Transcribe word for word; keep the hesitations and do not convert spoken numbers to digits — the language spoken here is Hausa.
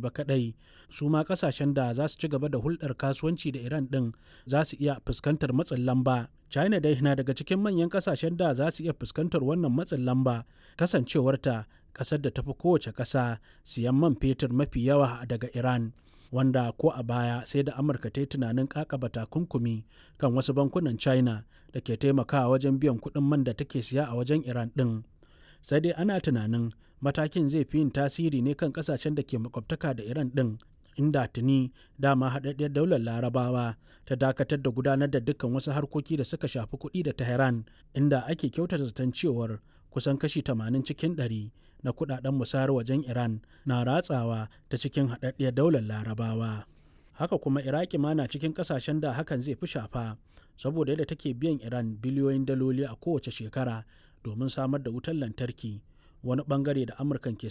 ba kaɗai, su ma ƙasashen da za su ci gaba da hulɗar kasuwanci da Iran ɗin za su iya fuskantar matsin lamba. China dai na daga cikin manyan ƙasashen da za su iya fuskantar wannan matsin lamba, kasancewarta ƙasar da tafi kowace ƙasa siyan man fetur mafi yawa daga Iran. Wanda ko a baya sai da Amurka ta yi tunanin kakaba takunkumi kan wasu bankunan China da ke taimakawa wajen biyan kuɗin man da take siya a wajen Iran ɗin. Sai dai ana tunanin matakin zai fi yin tasiri ne kan kasashen da ke makwabtaka da Iran ɗin, inda tuni dama haɗaɗɗiyar daular Larabawa ta dakatar da gudanar da dukkan wasu harkoki da suka shafi kuɗi da Tehran, inda ake kyautata zaton cewar kusan kashi tamanin cikin ɗari na kuɗaɗen musayar wajen Iran na ratsawa ta cikin haɗaɗɗiyar daular Larabawa. Haka kuma Iraki ma na cikin ƙasashen da hakan zai fi shafa, saboda yadda take biyan Iran biliyoyin daloli a kowace shekara domin samar da wutar lantarki, wani bangare da Amurkan ke